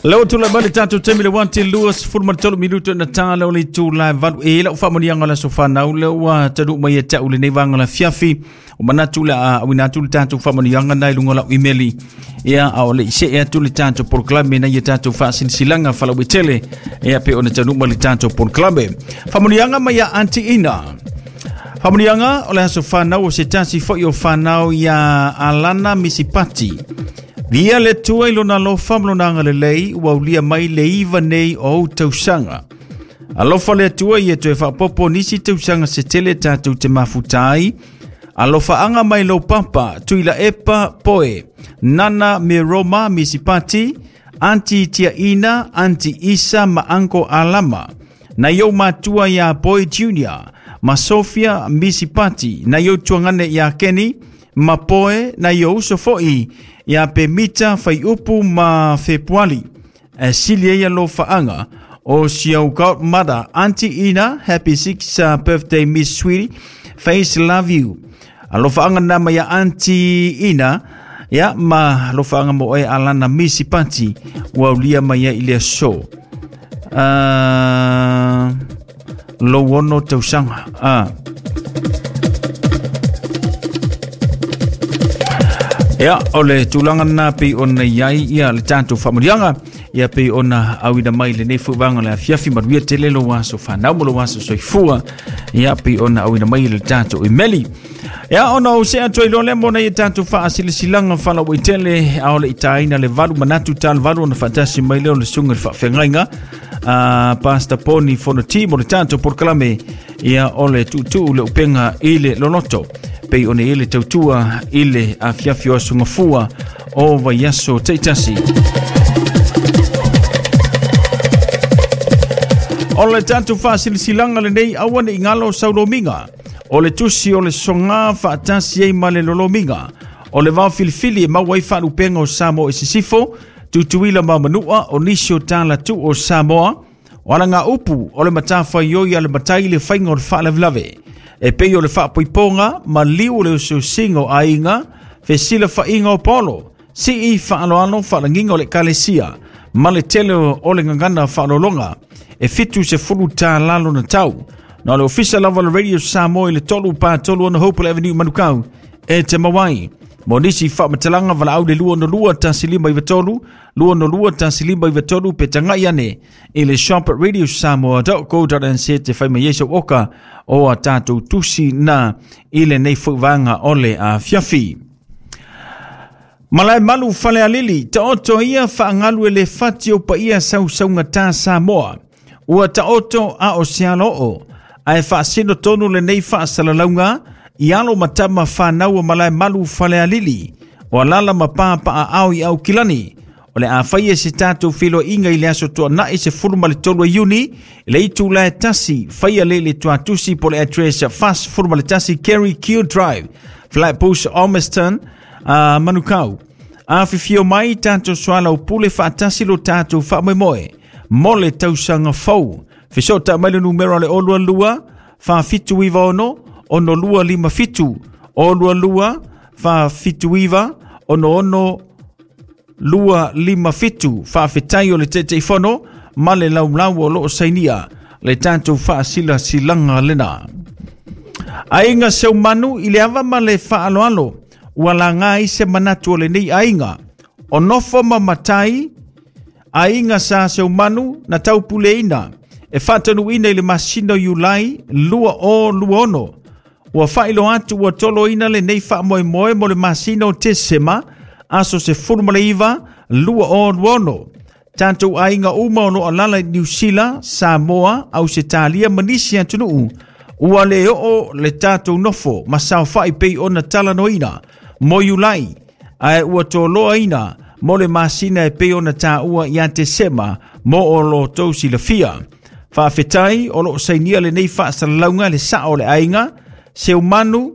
Lea ua tulai mai le tatou taimi le 1:23 minuto na ta lea o le itula e 8. E lau faamanuiaga o le aso fanau lea ua taunuu mai ia te au lenei vaega o le afiafi. O manatu le a auina atu le tatou faamanuiaga na i luga o lau imeli. Ia, a o le i see atu le tatou polokalame na ia tatou faasilasilaga faalauaitele. Ia, pe ona taunuu mai le tatou polokalame. Faamanuiaga mai ia Aunty Ina. Faamanuiaga o le aso fanau o se tasi foi o fanau ia Alana Misipati. Via le Atua i lona alofa ma lona agalelei ua aulia mai le 9 nei o ou tausaga. Alofa le Atua ia toe faaopoopo nisi tausaga se tele tatou te mafuta ai. Alofaaga mai lou papa, Tuilaepa Poe, Nana me Roma Misipati, Aunty Tiaina, Aunty Isa ma Uncle Alama. Nai ou matua iā Boy Junior ma Sofia Misipati, nai ou tuagane iā Kenny ma Poe, nai ou uso foi iā Pemita Faiupu ma Fepuali. E sili ai alofaaga o si au godmother Aunty Ina, happy 6th birthday Miss Sweetie, face love you. Alofaaga na mai ia Aunty Ina, ia ma alofaaga mo oe Alana Misipati, ua aulia mai ai i le aso. Lou ono tausaga. Ia, o le tulaga lena pei ona i ai ia le tatou faamanuiaga, ia pei ona auina mai lenei foi vaega o le afiafi. Manuia tele lou aso fanau ma lou aso soifua, ia pei ona auina mai le tatou imeli. Ia, ona ou see atu ai loa lea mo nai tatou faasilasilaga faalauaitele, a o le i taina le 8 manatu tala 8 ona faatasi mai lea o le susuga i le faafeagaiga a Pastor Poni Fonoti mo le tatou polokalame ia o le tuutuu le upega i le loloto pei ona i ai le tautua i le afiafi o aso Gafua o vaiaso taitasi. O le tatou faasilasilaga lenei aua ne i galo saulomiga o le tusi o le soga faatasi ai ma le lolomiga o le vao filifili e maua ai faalupega o Samoa i sisifo, Tutuila ma Manua, o nisi o tala tuu o Samoa, o alagaupu o le matafaioi a le matai i le faiga o le faalavelave, e pei o le faapoipoga ma liu o le osiosiga o aiga, fesilafaiga o polo, sii faaaloalo faalagiga o le ekalesia, ma le tele o le gagana faaaloaloga, e $70 lona tau. Na o le ofisa lava o le Radio Samoa i le 3 4 3 6 Hopewell Avenue, Manukau, e te maua ai. Mo nisi faamatalaga valaau le 262 1593, 262 1593 pe tagai ane i le shop at radiosamoa.co.nz te fai mai ai sau oka o a tatou tusi na i lenei foi vaega o le afiafi. Malae malu Falealili, taoto ia faagalu e le fati o paia sausaugata Samoa. Ua taoto a o se aloo, ae faasino tonu lenei faasalalauga i alo ma tama fanau o Malae malu Falealili, o alala ma papaaao i Aukilani. O le a faia se tatou feiloaiga i le aso Toonai 13 Iuni i le itula e 1, faia le le tuatusi po le address 41 Kerry Q Drive, Flatbush, Ormiston, Manukau. Afifio mai tatou soalaupule faatasi lo tatou faamoemoe mo le tausaga fou. Fesoota mai le numera le 022 4796 6257, 022 479 66 257. Faafetai o le Taitaifono ma le laulau o loo sainia le tatou faasilasilaga lena. Aiga Seumanu i le ava ma le faaaloalo ua laga ai se manatu o lenei aiga. O nofo ma matai aiga sa Seumanu na taupuleina e faatanuuina i le masina o Iulai 2026. Ua faailoa atu ua toloina lenei faamoemoe mo le masina o Tesema aso 19 2026. Tatou aiga uma o lo o alala i Niu Sila, Samoa, Ausetalia ma nisi atunuu, ua le oo le tatou nofo ma saofai pei ona talanoaina mo Iulai, ae ua toloaina mo le masina e pei ona taua ia Tesema mo o lo tou silafia. Faafetai o lo o sainia lenei faasalalauga le sao o le aiga, Seumanu,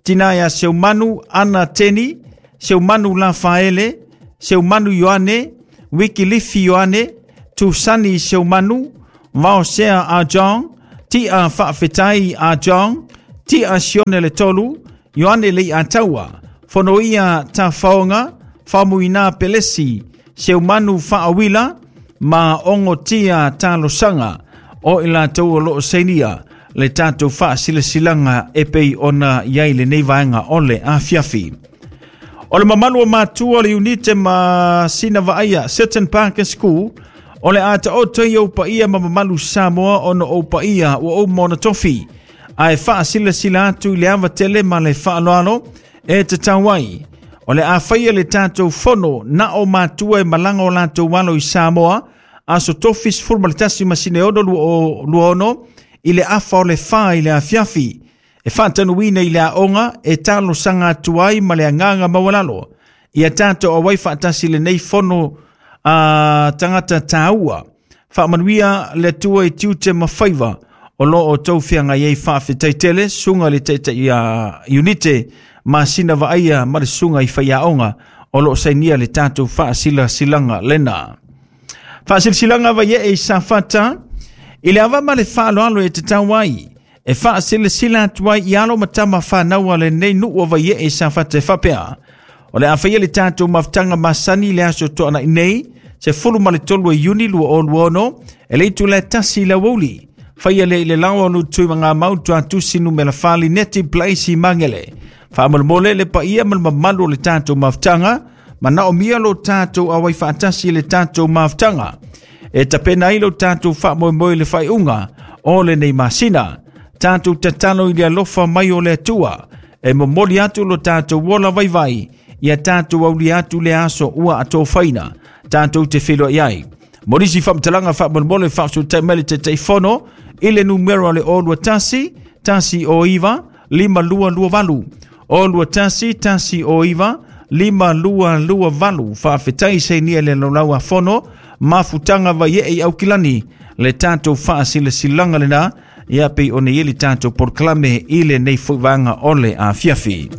tina ia Seumanu Ana Teni, Seumanu Lafaele, Seumanu Ioane, Wikilifi Ioane, Tusani Seumanu, Vaosea a John, Tia Faafetai a John, Tia Sione le Tolu, Ioane Lei Ataua, Fonoia Tafaoga, Famuina Pelesi, Seumanu Faawila ma Ongotia Talosaga o i latou o loo sainia le tatou faasilasilaga e pei ona i ai lenei vaega o le afiafi. O le mamalu o matua o le Iunite ma Sina Vaaia Seton Parker School o le a taoto i ou paia ma mamalu Samoa ona ou paia ua uma ona tofi ae faasilasila atu i le ava tele ma le faaaloalo e tatau ai. O le a faia le tatou fono na o matua e malaga o latou alo i Samoa aso tofi 11 masina e 6 26 i le afa o le 4 i le afiafi e faatanuina i le aoga e talosaga atu ai ma le agaga maualalo ia tatou auai faatasi lenei fono a tagata taua. Faamanuia le Atua i tiute ma faiva o loo outou feagai ai. Faafetai tele susuga i le taitai a Iunite ma Sina Vaaia ma le susuga i faiaoga o loo sainia le tatou faasilasilaga lena. Faasilasilaga Vaiee i Safata i le ava ma le faaaloalo e tatau ai e faasilasila atu ai i alo ma tama fanau a lenei nuu o Vaiee i Safata e faapea. O le a faia le tatou mafutaga masani le aso toanai nei, 13 Iuni 2026, e le itula e 1 i le aoauli. Faia lea i le laoa o Lutui Magamau Tuatusi numera 4 Lineti Place i Magele. Faamolemole le paia ma le mamalu o le tatou mafutaga, manaomia lo tatou auai faatasi i le tatou mafutaga. E tapena ai lo tatou faamoemoe i le faaiuga o lenei masina. Tatou tatalo i le alofa mai o le Atua e momoli atu lo tatou ola vaivai ia tatou aulia atu le aso ua atofaina tatou te feiloai ai. Mo nisi faamatalaga faamolemole faafesutai mai le Taitaifono i le numera o le 021 109 5228 021 109 5228. Faafetai sainia le laulau a fono mafutaga Vaiee i Aukilani le tatou faasilasilaga lena ia pei ona i ai le tatou polokalame i lenei foi vaega o le afiafi.